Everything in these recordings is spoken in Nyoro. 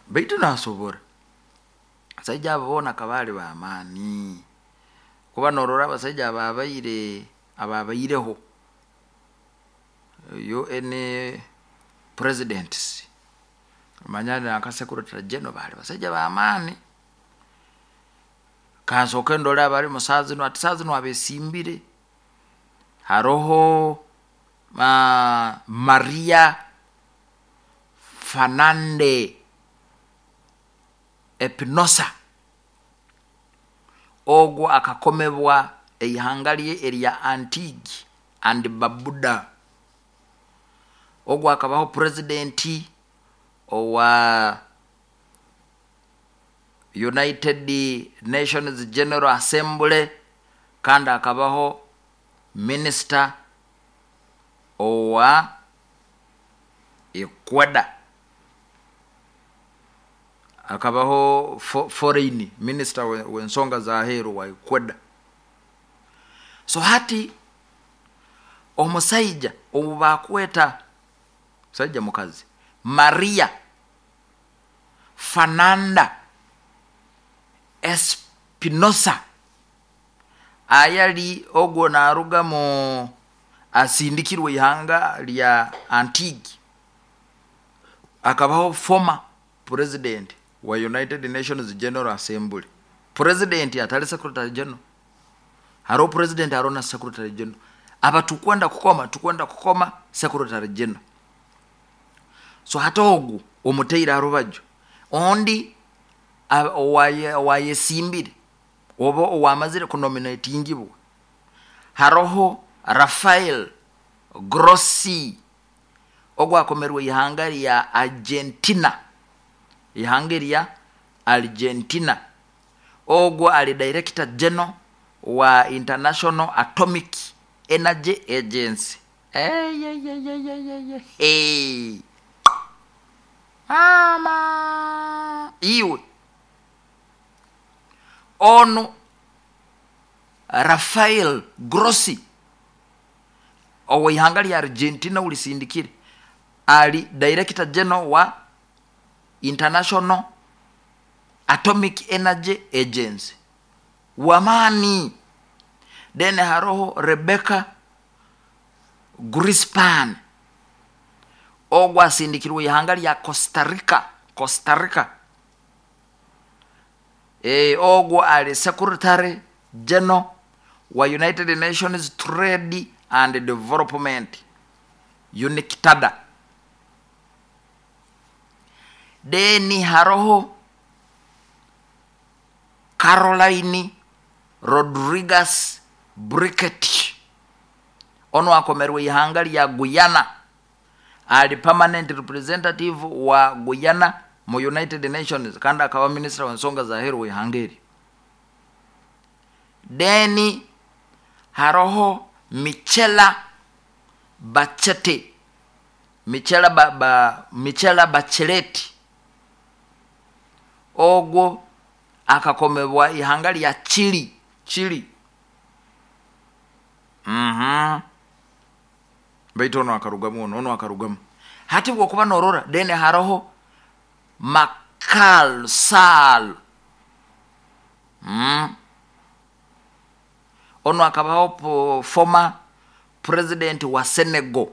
Baitu nasobora. Abasaija abo boona akaba ali b'amaani. Kuba norora abasaija ababaire ababaireho UN presidents, manya nanka secretary general baali basaija b'amaani. Kansooke ndole abalimu saaha zinu, hati saaha zinu abesimbire haroho Maria Fernande Epinosa, ogu akakomebwa eihanga rye erya Antigua and Barbuda. Ogu akabaho president owa United Nations General Assembly kandi akabaho minister owa Ecuador. Akabaho foreign minister w'ensonga z'aheeru wa Ecuador. So hati omusaija ou bakweta, musaija mukazi, Maria Fernanda Espinosa ayali ogwo naruga mu asindikirwe ihanga lya Antigua, akabaho former president wa United Nations General Assembly. President atali secretary general. Haroho president, haroho na secretary general. Aba tukwenda kukoma, tukwenda kukoma secretary general. So hati ogu omuteire ha rubaju. Ondi owayesimbire oba owamazire kunominatingibwa haroho Rafael Grossi, ogu akomerwe ihanga lya Argentina, ihanga erya Argentina. Ogu ali director general wa International Atomic Energy Agency. Hey. Mama iwe onu Rafael Grossi oweihanga lya Argentina ulisindikire ali director general wa International Atomic Energy Agency wamaani. Then haroho Rebecca Grispan, ogu asindikirwe ihanga lya Costa Rica, Costa Rica. Ogu ali secretary general wa United Nations Trade and Development UNCTAD. Then haroho Caroline Rodriguez Brickett, onu akomerwe ihanga lya Guyana, ali permanent representative wa Guyana mu United Nations kandi akaba minister w'ensonga z'aheeru w'ihanga eri. Then haroho Michela Bachete, Michela, ba, ba, Michela Bachelet, ogwo akakomebwa ihanga lya Chile, Chile. Baitu onu akarugamu, onu akarugamu. Hati bwokuba norora, then haroho Makal Sall. Onu akabaho former president wa Senegal.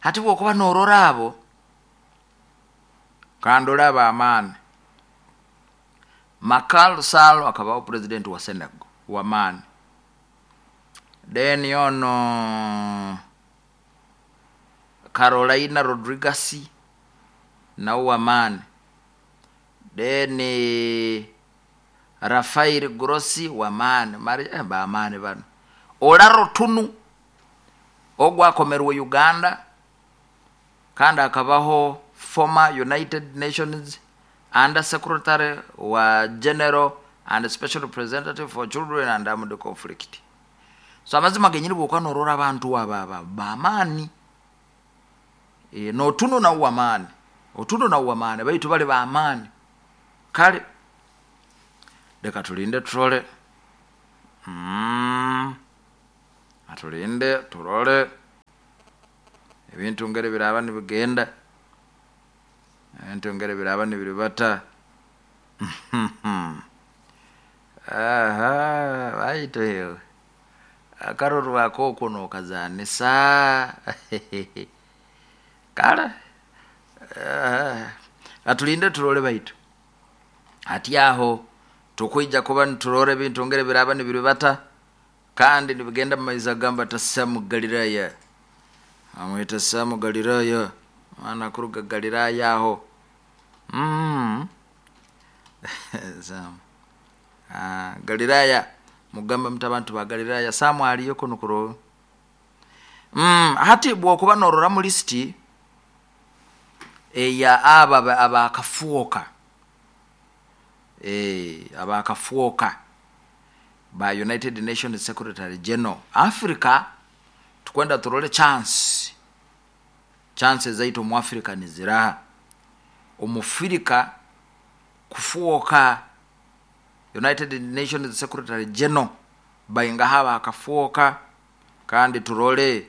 Hati bwokuba norora abo, kandi olaba amaani. Makal Sall akabaho president wa Senegal wamaani. Then ono Carolina Rodriguez nawe wamaani. Then Rafael Grossi wamaani. Bamaani bano. Olaro Tunu ogwo akomerwe Uganda kandi akabaho former United Nations Under Secretary wa General and Special Representative for Children and Armed Conflict. So amazima genyini bwokuba norora abantu aba bamaani. N'otuno nawe wamaani, otuno nawe wamaani, baitu bali bamaani. Kale leka tulinde turole. Atulinde turole. Ebintu ngeri biraba nibigenda, ebintu ngeri biraba nibiribata. Aha, baitu hewe akarorwa akoko nokazanisa. Kale atulinde turole, baitu hati aho tukwija kuba niturora ebintu ngeri biraba nibiribata kandi nibigenda mumaizi. Agamba ati Samu Galilaya, amwita Samu Galilaya, mwana kuruga Galilaya aho. Samu. Galilaya, mugamba muti abantu ba Galilaya, Samu aliyo kunu kuro. Hati bwokuba norora mu lisiti eya aba abakafuoka, abakafuoka ba United Nations Secretary General, Africa tukwenda turole chance zaitu omu Africa niziraha. Omufirika kufuoka United Nations Secretary General baingaha abakafuoka, kandi turole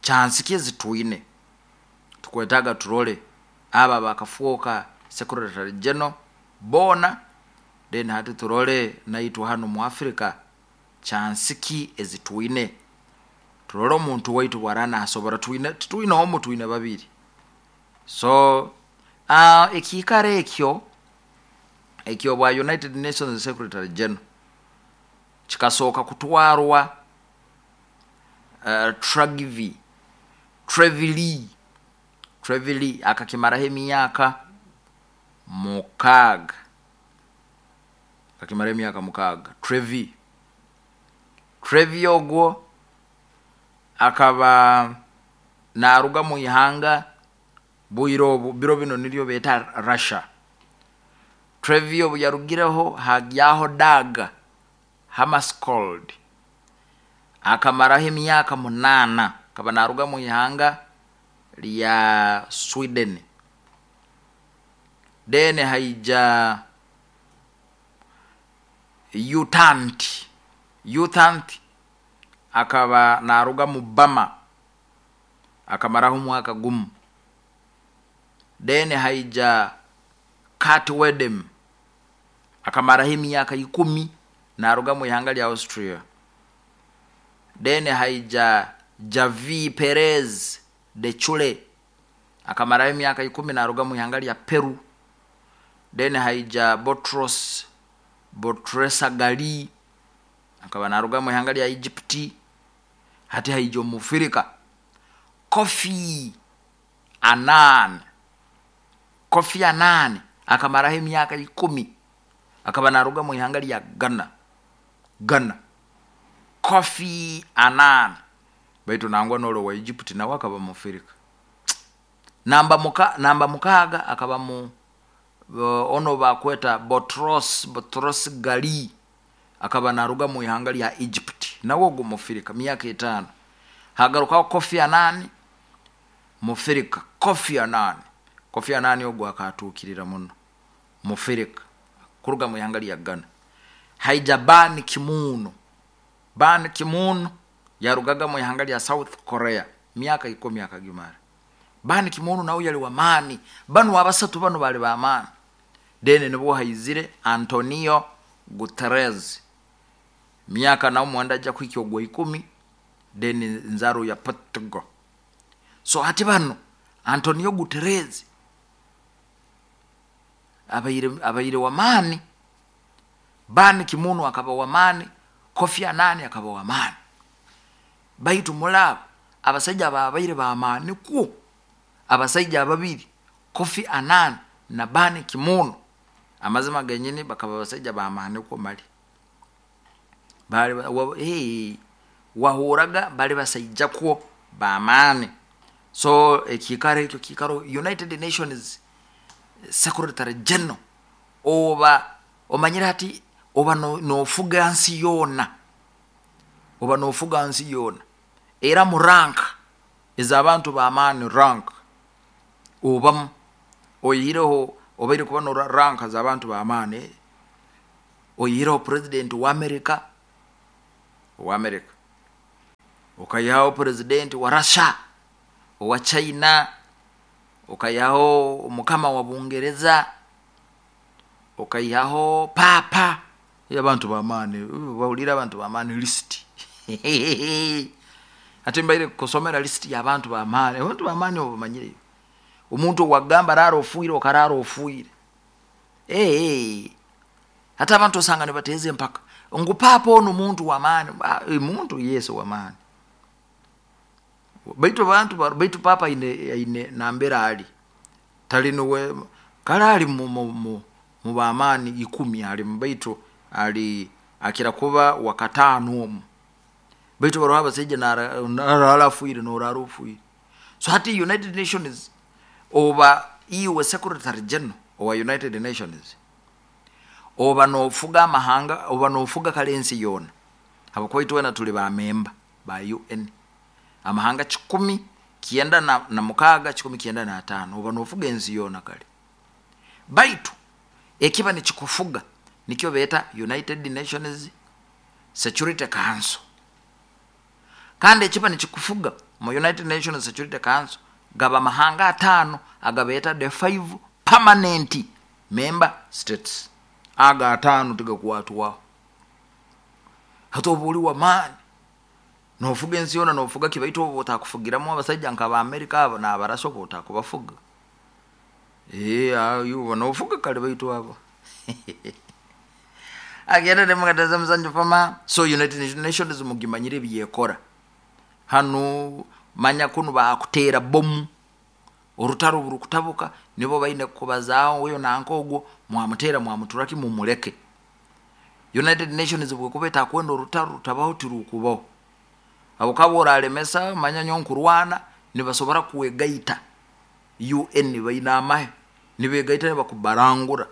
chance ki ezitwine. Tukwetaga turole aba bakafuoka Secretary General bona, then hati turole naitwe hano mu Africa chance ki ezitwine, turole omuntu waitu bwara nasobora. Twine titwine omu, twine babiri. So ekiikaro ekyo ekyo bwa United Nations Secretary General kikasooka kutwarwa Trygve Trevili, akakimaraho emyaka 6, akakimaraho emyaka 6. Trevi ogwo akaba naruga mu ihanga bwire obu biro bino niryo beta Russia. Trevi obu yarugireho hagyaho Dag Hammarskjöld, akamaraho emyaka 8, akaba naruga mu ihanga lya Sweden. Then haija Utant akaba naruga mu Bama, akamaraho omwaka gumu. Then haija Kurt Wedem, akamaraho emyaka 10, naruga mu ihanga lya Austria. Then haija Javi Perez de Chule, akamaraho emyaka 10, naruga mu ihanga lya Peru. Then haija Botros Botresagali, akaba naruga mu ihanga lya Egypt. Hati haija omufirika Kofi Annan. Kofi Annan akamaraho emyaka 10, akaba naruga mu ihanga lya Ghana. Kofi Annan, baitu nangwa nolo wa Egypt nawe akaba mufirika. Namba 6 akaba mu ono bakweta Botros Gali, akaba naruga mu ihanga lya Egypt, nawe ogwo mufirika, myaka 5. Hagarukaho Kofi Annan mufirika. Kofi Annan ogwo akatukirira muno, mufirika kuruga mu ihanga lya Ghana. Haija Ban Ki-moon. Ban Ki-moon yarugaga mu ihanga lya South Korea, myaka 10 akagimara. Ban Ki-moon nawe yali wamaani, banu abasatu banu bali bamaani. Then nibwo haizire Antonio Guterres, myaka nawo mwenda ajja kuhikya ogwa 10, then nzaro ya Portugal. So hati bano Antonio Guterres abaire wamaani, Ban Ki-moon akaba wamaani, Kofi Annan akaba wamaani. Baitu mulabo abasajja babaire bamaani ku abasajja ababiri, Kofi Annan na Ban Ki-moon, amazima genyini bakaba abasajja bamaani ku mali. Bali wahuraga bali basajja kwo bamaani. So ekikaro ekyo kikaro United Nations Secretary General, oba omanyire hati oba nofuga nsi yona, oba nofuga nsi yona, era mu rank ez'abantu bamaani, rank obamu oyihireho obaire kuba no rank z'abantu bamaani, oyihireho president wa America, Okaihaho purezidenti wa Russia, owa China, okaihaho omukama wa Bungereza, okaihaho paapa. Abantu b'amaani bahulire, abantu b'amaani lisiti. Hati mbaire kusomera lisiti y'abantu b'amaani. Abantu b'amaani obamanyire, omuntu owagamba raara ofiire, okaraara ofiire. Hati abantu osanga nibateeza empaka ngu paapa onu muntu w'amaani. Muntu yes w'amaani, baitu abantu, baitu paapa aine nambere ali, tali nuwe kale ali mu b'amaani 10 alimu, baitu ali akira kuba wakataano omu, baitu baroho abasaija naraara afiire, noraara ofiire. So hati United Nations, oba iwe secretary general owa United Nations, oba nofuga amahanga, oba nofuga kale ensi yoona, habwokuba itwena tuli bamemba ba UN, amahanga 196, 195, oba nofuga ensi yoona kale. Baitu ekiba nikikufuga nikyo beeta United Nations Security Council, kandi ekiba nikikufuga mu United Nations Security Council gaba amahanga 5 agabeeta the 5 permanent member states. Aga 5 tigakwatwaho. Hati oba oli w'amaani, nofuga ensi yoona, nofuga ki, baitu obu otakufugiramu abasaija nk'aba Amerika abo n'abarasha, obu otakubafuga, oba nofuga kale, baitu abo agenda nemukateza musanju fama. So United Nations mugimanyire ebyekora hanu. Manya kunu bakuteera bomu, orutaro burukutabuka, nibo baine kubazaaho, oyo nanka ogwo mwamuteera, mwamuturaki, mumuleke. United Nations bwekuba etakwenda orutaro rutabaho, tirukubaho, habwokuba oralemesa manya nyowe nkurwana, nibasobora kwegaita. UN baine amahe, nibegaita nibakubarangura.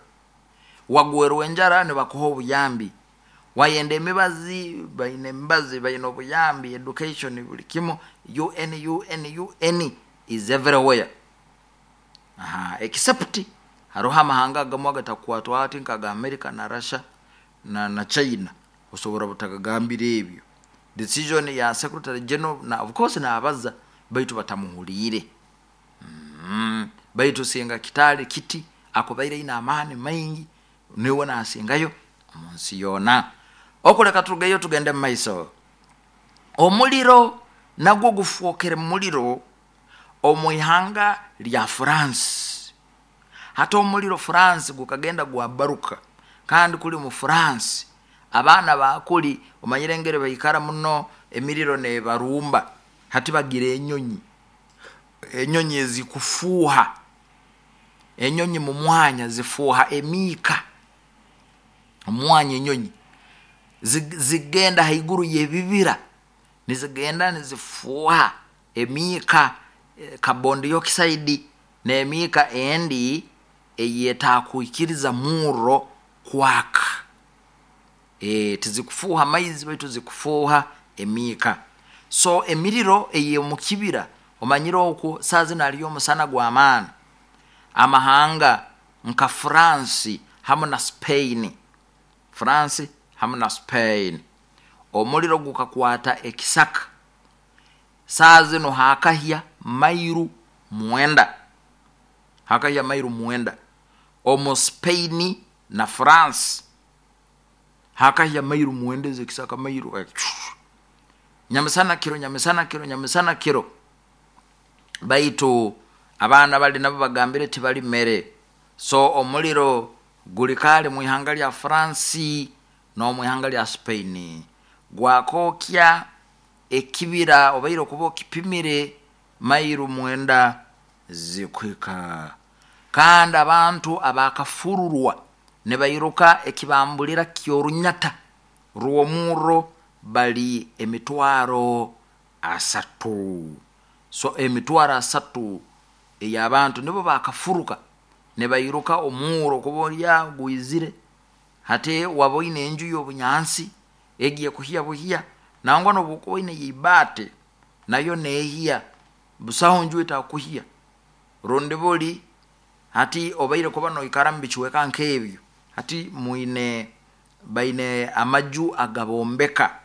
Wagwerwa enjara, nibakuha obuyambi. Wayenda emibazi, baine emibazi, baine obuyambi, education, buli kimu. UN, UN, UN is everywhere. Aha, except haroho amahanga agamu agatakukwatwaho, ati nkaga America na Russia na China, osobora butagagambira ebyo. Decision ya secretary general na of course nabaza, baitu batamuhuliire. Baitu singa kitali kiti, akubaire aine amaani maingi, niwe nasingayo omu nsi yoona. Okuleka turugeyo tugende mu maiso. Omuliro nagwo gufwokere muliro omu ihanga lya France. Hati omuliro France gukagenda gwabaruka, kandi kuli mu France abaana bakuli omanyire engeri baikara muno, emiriro nebarumba. Hati bagira enyonyi, enyonyi ezikufuuha, enyonyi mu mwanya zifuuha emiika omwanya, enyonyi zigenda haiguru y'ebibira, nizigenda nizifuuha emiika, carbon dioxide n'emiika endi eyetakwikiriza murro kwaka. Tizikufuuha maizi, baitu zikufuuha emiika. So emiriro ey'omukibira, omanyire okwo saa zino haliyo omusana gw'amaani, amahanga nka France hamu na Spain, France hamu na Spain, omuliro gukakwata ekisaka, saa zino hakahya mairu 9, hakahya mairu 9 omu Spain na France, hakahya mairu 9 ez'ekisaka, mairu nyamisana kiro, nyamisana kiro, nyamisana kiro. Baitu abaana bali nabo bagambire tibali mere. So omuliro guli kale mu ihanga lya France n'omu ihanga lya Spain, gwakokya ekibira, obaire okuba okipimire mairu 9 zikuhika. Kandi abantu abakafururwa nibairuka ekibambulira ky'orunyata rw'omurro bali 300,000. So 300,000 ey'abantu nibo bakafuruka nibairuka omurro, kuba olyaho gwizire. Hati waba oine enju y'obunyansi, egiye kuhya buhya, nangwa nobu okuba oine yeibaate, nayo neehya, busaho nju etakuhya rundi buli. Hati obaire kuba noikara mu bicweka nk'ebyo, hati mwine baine amaju agabombeka.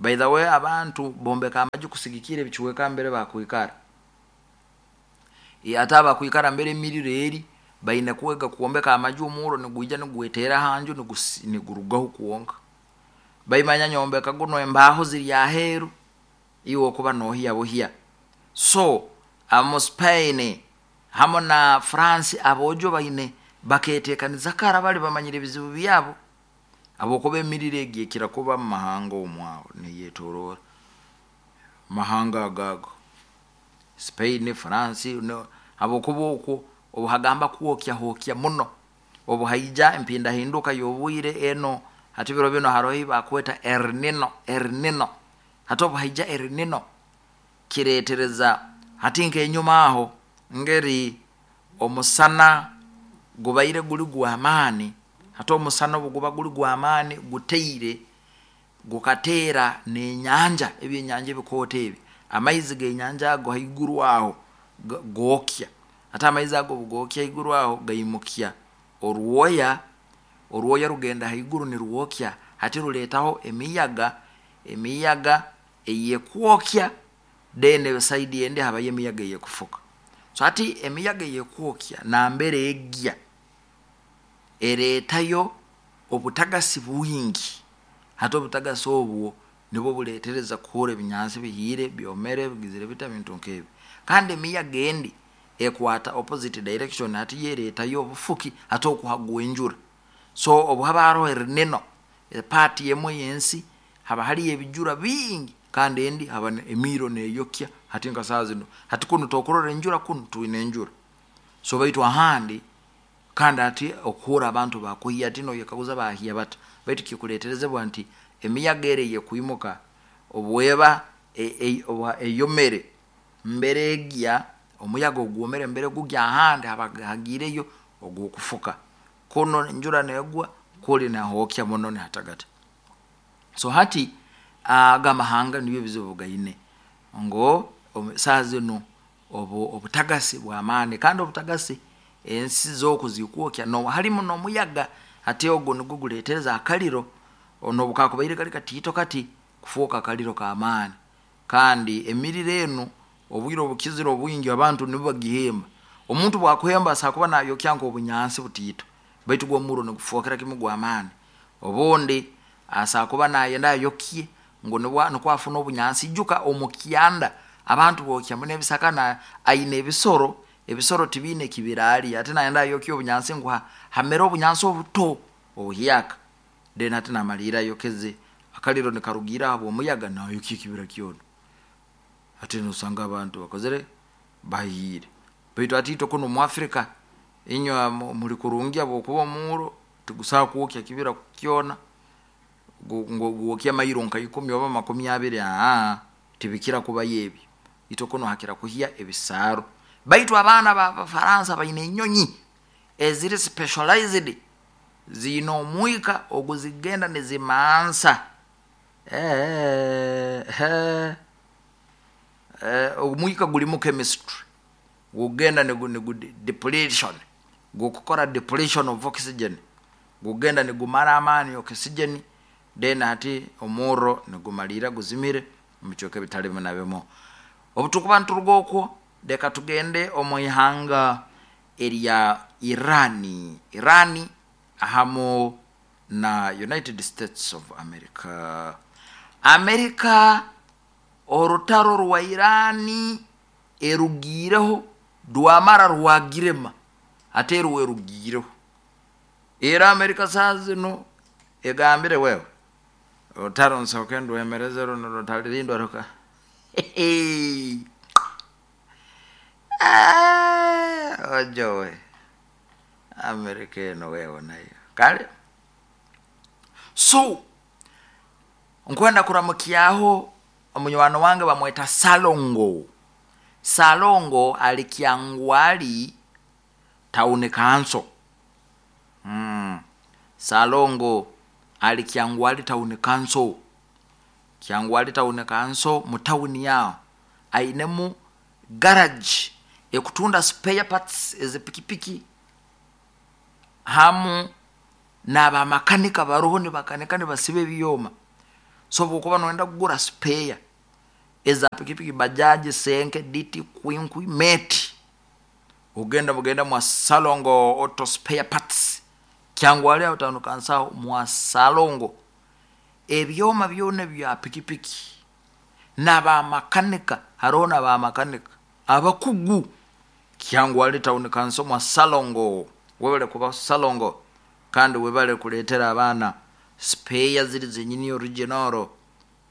By the way, abantu bombeka amaju kusigikira ebichweka mbere bakwikara. Ate abakwikara mbere emiriro eri baine kwega kwombeka amaju omuro nigwija nigwetera hanju nigurugaho kwonka. Baimanya nyombeka guno embaho ziri aheru iwe okuba nohiya buhya. So mu Spain hamu na France abojo baine baketekaniza kara bali bamanyire ebizibu byabo habwokuba emiriro egi ekira kuba mu mahanga omwaho neyetorora mahanga agago Spain, France no, habwokuba okwo obuhagamba kwokya hokya muno obuhaija empindahinduka y'obwire eno. Hati biro bino haroho ei bakweta El Nino. El Nino hati obuhaija El Nino kiretereza hati nk'enyuma aho ngeri omusana gubaire guli gw'amaani. Hati omusana obu guba guli gw'amaani guteire gukateera n'enyanja, ebyenyanja ebikooto ebi, amaizi g'enyanja ago haiguru aho gookya. Hati amaizi ago obu gookya haiguru aho gaimukya orwoya, orwoya rugenda haiguru nirwokya, hati ruleetaho emiyaga, emiyaga eyekwokya, then side endi habayo emiyaga eyekufuka. So hati emiyaga eyekwokya nambere egya ereetayo obutagasi bwingi. Hati obutagasi obwo nibwo buleetereza kuhurra ebinyansi bihiire, byomere, bigizire bita, bintu nkebi. Kandi emiyaga endi ekwata opposite direction, hati yo ereetayo obufuki, hati okwo hagwa enjura. So obu haba haroho El Nino, part emu ey'ensi haba hariyo ebijura bingi kandi endi haba emiiro neyokya. Hati nka saaha zinu, hati kunu tokurora enjura, kunu twine enjura. So baitu ahandi kandi hati okuhurra abantu bakuhiya, hati noyekaguza bahiya bata, baitu kikuleterezebwa nti emiyaga eri eyekwimuka obweba eyomere mbere egya, omuyaga ogwomere mbere gugya ahandi haba hagiireyo ogw'okufuka. Kunu enjura negwa, kuli nihokya muno nihatagata. So hati aga amahanga nibyo ebizibu gaine ngu saaha zinu obutagasi bw'amaani, kandi obutagasi ensi z'oku zikwokya no harimu n'omuyaga. Hati ogu nugwo guleetereza akariro n'obu kakubaire kali katiito kati kufooka akariro k'amaani. Kandi emiriro enu obwire obukizire obwingi abantu nibo bagihemba. Omuntu bwakuhemba asobola kuba nayokya nk'obunyansi butiito, baitu gwo omurro nigufookera kimu gw'amaani. Obundi asobola kuba nayenda ayokye ngu nukwo afune obunyansi. Ijuka omu kyanda abantu bookya muno ebisaka, na aine ebisoro, ebisoro tibiine ekibiraarya, hati nayenda ayokye obunyansi ngu hamere obunyansi obuto obuhyaka, then hati namaliira ayokeze akariro nikarugiira habw'omuyaga nayokya ekibira kyona. Hati nosanga abantu bakozire bahiire. Baitu hati itwe kunu mu Africa, inywe muli kurungi habwokuba omuuro tigusobola kwokya kibira kyona ngu gwokye mairo nka 10 oba 20, tibikira kubayo ebi. Itwe kunu hakira kuhya ebisaaru. Baitu abaana b'Abafaransa baine enyonyi eziri specialized, ziine omwika oguzigenda nizimansa omwika gulimu chemistry, gugenda nigu depletion, gukukora depletion of oxygen, gugenda nigumara amaani oxygen, then hati omurro nigumaliira guzimire omu bicweka ebitali bimu na bimu. Obu tukuba nituruga okwo, leka tugende omu ihanga erya Iran, Iran hamu na United States of America. America orutaro rwa Iran erugiireho rwamara rwagirema, hati erwo erugiireho. Era America saaha zinu egambire, wewe orutaro nsooke ndwemereze runu rutalirindwa ruka ojowe America eno wewe nayo kale. So nkwenda kuramukyaho omunywani wange bamweta Salongo. Salongo ali Kyangwali Town Council. Salongo ali Kyangwali Town Council, Kyangwali Town Council mu tawuni aho ainemu garage ekutunda spare parts ez'epikipiki hamu n'abamakanika baroho nibakanika nibasiba ebyoma. So bwokuba noyenda kugura spare eza pikipiki, bajaji, senke, diti, kwinkwi, meti, ogenda mugenda mwa Salongo Auto Spare Parts Kyangwali aho town council mwa Salongo. Ebyoma byona bya pikipiki n'abamakanika, haroho n'abamakanika abakugu Kyangwali town council mwa Salongo. Webale kuba Salongo kandi webale kuleetera abaana spare ziri zenyini original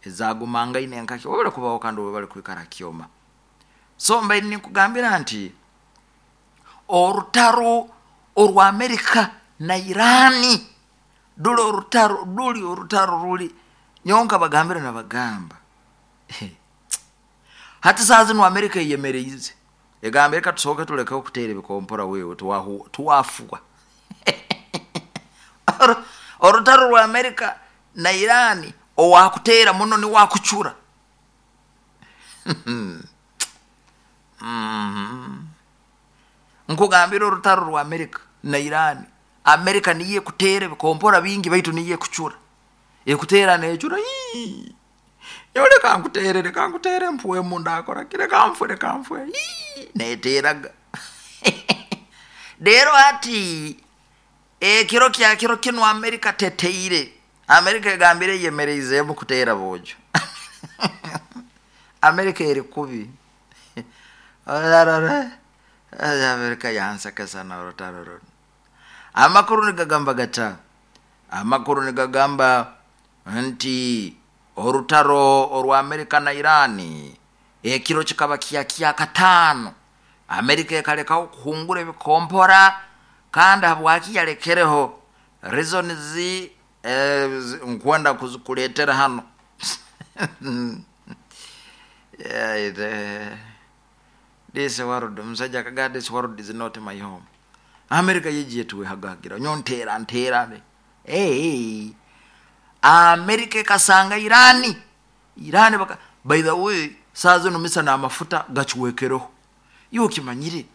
ezagumangaine nkaki. Webale kubaho kandi webale kwikara kyoma. So mbaire ninkugambira nti orutaro orwa Amerika na Irani duli orutaro, duli orutaro ruli nyonka bagambira nabagamba hati saa zinu Amerika eyemereize egamba reka tusooke tuleke okuteera ebikompora wewe tuwafuwa. Orutaro rwa Amerika na Irani owakuteera muno niwakucura. Nkugambira orutaro rwa Amerika na Irani, Amerika niyo ekuteera ebikompora bingi baitu niyo ekucura, ekuteera necura, nyowe reka nkuteere, reka nkuteere mpwemu ndakora ki, reka nfwe, reka nfwe, neteeraga. Rero hati ekiro kya kiro kinu Amerika teteire, Amerika egambire eyemereizeemu kuteera boojo. Amerika eri kubi. Amerika yansekesa n'orutaro runu. Amakuru nigagamba gata? Amakuru nigagamba nti orutaro orwa Amerika na Irani ekiro kikaba kya kyakataano, Amerika ekalekaho kuhungura ebikompora. Kandi habwaki yalekereho? Reasons nkwenda kuzikuleetera hano. This world, omusajja akagamba this world is not my home. Amerika yegiye tuwehagagira nyo nteera nteera. Hey, Amerika ekasanga Irani, Irani baka, by the way saa zinu misa n'amafuta gakiwekereho, iwe okimanyire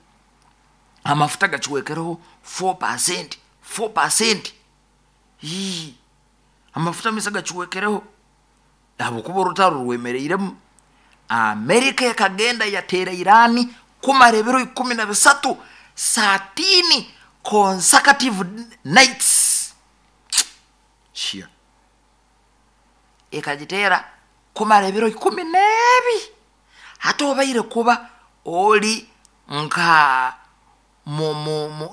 amafuta gakiwekereho 4%, 4%. Hii, amafuta misa gakiwekereho habwokuba orutaro rwemereiremu. Amerika ekagenda yateera Irani kumara ebiro 13, 13 consecutive nights. Shia ekagiteera kumara ebiro 12. Hati obaire kuba oli nka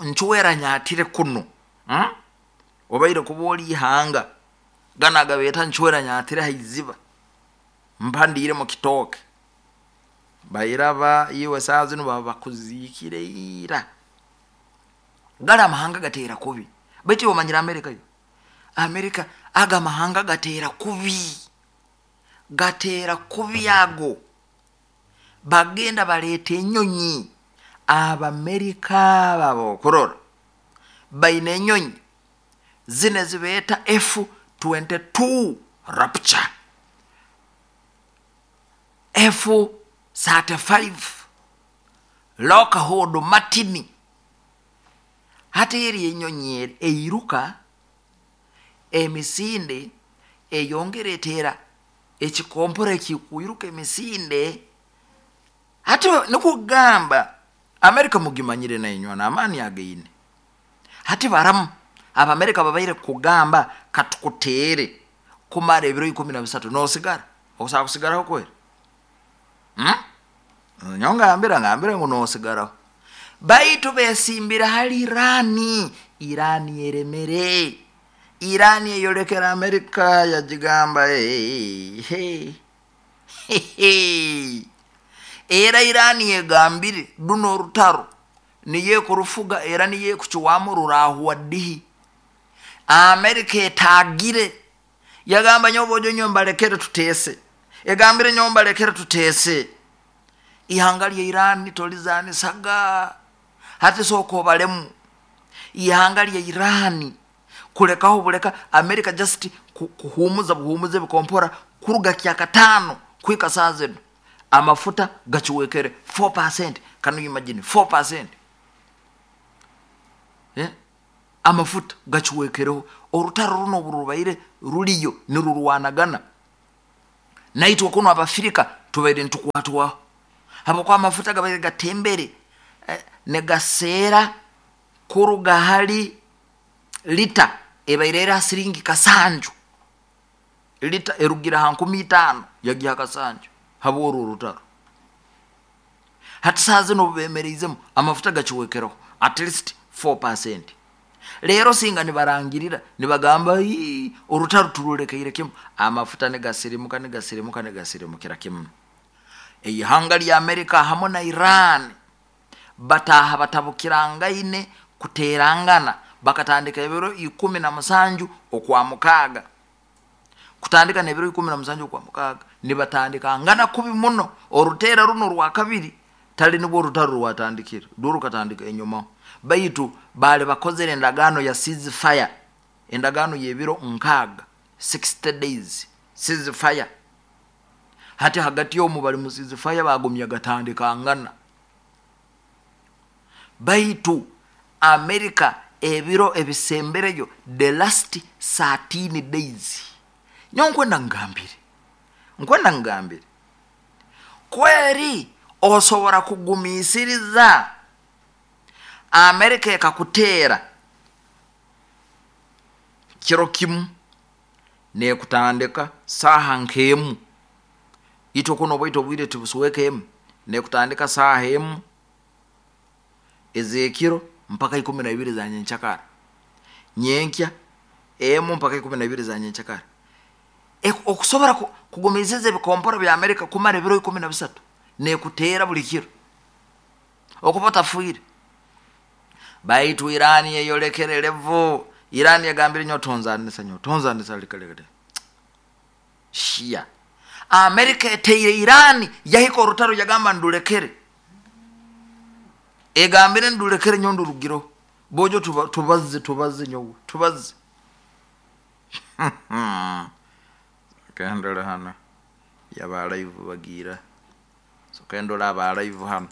ncwera nyatire kuno, Obaire kuba oli ihanga gana agabeeta ncwera nyatire haiziba mpandiire mu kitooke bairaba iwe saa zinu baba bakuziikire ira. Gali amahanga gateera kubi, baitu iwe omanyire Amerika yo, Amerika aga amahanga gateera kubi, gateera kubi ago. Bagenda baleeta enyonyi, Abamerika babo okurora baine enyonyi zino ezibeeta F-22 Rapture, F-35 Lockheed Martin. Hati eri enyonyi eri eiruka emisinde eyongera eteera ekikompora ekikwiruka emisinde. Hati nikugamba Amerika mugimanyire nainywa n'amaani againe. Hati baramu Abamerika babaire kugamba katukuteere kumara ebiro 13 nosigara, osobola kusigaraho kweri? Nyowe ngambira ngu nosigaraho, baitu besimbire hali Irani. Irani eremere, Irani eyolekera Amerika yagigamba hey, hey, hey. Era Irani egambire duno orutaro niyo ekurufuga era niyo ekukiwamu rurahwa dihi. Amerika etagire yagamba nyowe bojo nyowe mbalekere tuteese, egambire nyowe mbalekere tuteese. Ihanga lya Irani tolizanisaga, hati sooka obalemu ihanga lya Irani kulekaho buleka Amerika just kuhumuza buhumuza ebikompora kuruga kyakataano kuhika saa zino amafuta gakiwekere 4%. Can you imagine 4%? Amafuta gakiwekereho. Orutaro runo obu rubaire ruriyo nirurwanagana. Naitwe kunu Abafirika tubaire nitukwatwaho habwokuba amafuta gabaire gatembere, negaseera kuruga hali lita ebaire eri ha siringi 7, lita erugire ha 5000 yagiha 7 habw'oru orutaro. Hati saaha zinu obu bemereizemu amafuta gakiwekereho at least 4%. Leero singa nibarangirira nibagamba ii orutaro turulekeire kimu, amafuta nigasirimuka nigasirimuka nigasirimukira kimu. Eihanga lya Amerika hamu na Iran bataaha batabukirangaine kuteerangana, bakatandika ebiro 17 okwa mukaaga, kutandika n'ebiro 17 okwa mukaaga nibatandikangana kubi muno. Oruteera runo orwakabiri tali nibwo orutaro rwatandikire, rwo rukatandika enyumaho, baitu baali bakozere endagaano ya ceasefire, endagaano y'ebiro 60, 60 days ceasefire. Hati hagati omu bali mu ceasefire bagumya gatandikangana, baitu Amerika ebiro ebisembereyo the last 13 days. Nyowe nkwenda ngambire kweri osobora kugumiisiriza Amerika ekakuteera kiro kimu nekutandika saaha nk'emu, itwe kuno obwaitu obwire tibusweka emu, nekutandika saaha emu ez'ekiro mpaka 12 za nyenkyakara, nyenkya emu mpaka 12 za nyenkyakara. Okusobora kugumiisiriza ebikompora bya Amerika kumara ebiro 13 nekuteera buli kiro okuba otafiire. Baitu Iran eyolekere levo, Iran yagambire nyowe tonzanisa, nyowe tonzanisa, leka leka shia. Amerika eteire Iran yahika orutaro yagamba ndulekere, egambire ndulekere nyowe ndurugireho, bojo tubaze tubaze nyowe tubaze. Kendole hano yaba live bagira, so kendole aba live hano.